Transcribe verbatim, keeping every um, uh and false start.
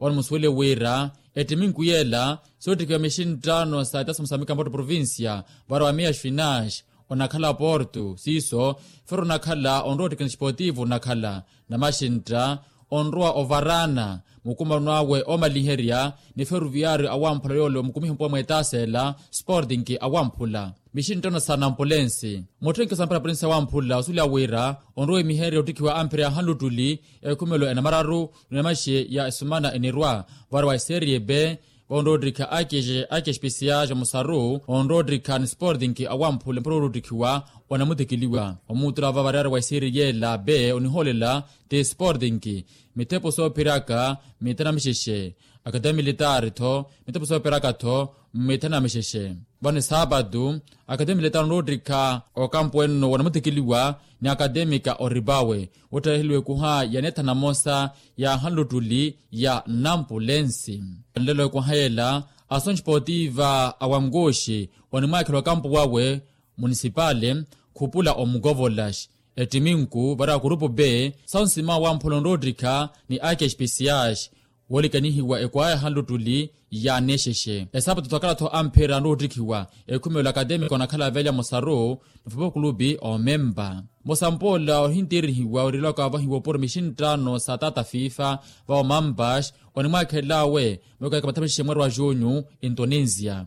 Vano musuwele wira ettiminku yeela soottikiwa mixinttano sa etasomo sa mikampoto provincia, vano wa miya xfinanxe onakhala porto siiso, fero onakhala onrowa ottikina esportivo onakhala namaxintta onrowa ovarana mukumano awe omaliherya ni feruviario awamphula yoole omukumiha mpuwa mweetaseela sporting awamphula mixinttano sa nampulensi. Mutthenke sa mpira pulensi awamphula osuleya wira onrowa emiherya ottikhiwa ampira ya hanluttuli ekhumelo enamararu ni namaxe ya esumana enirwa vano wa eserie b. Onrowa ottikha ake especial ja musaru onrowa ottikha ni sporting awamphula mpuro orutikhiwa onamutikiliwa omutula va variyari wa eserie yeela b onihoolela ti sporting mithepo soophiraka mitha na mixexe akatemi militari tho mithepo soophiraka tho mitha na mixexe. Vano esaapatu akatemi militari onrowa ottikha okampu enno wanamutikiliwa ni akatemika oripawe wotthaheliwa ekuha ya neetha namosa ya hanluttuli ya nampulensi. Nlelo ekuha yeela asonttipotiva awankuxi onimwaakhela okampu wawe munisipale khupula omukovolaxi ettiminku vano akurupu b sa onsima wamphula onrowa ottikha ni ake especial woolikanihiwa ekwaya hanluttuli ya nexexe esaapatu thokala-tho amphira anroottikhiwa ekhumelo akatemika onakhala velya musaru ni fupo kulupi omempa. Musampoola ohinttirihiwa orilaka wavahiwa opuro mixinttano sa tata fifa vano mampax onimwaakhelelawe mweekaka mathamixexe mweeri wa junyu intonisia.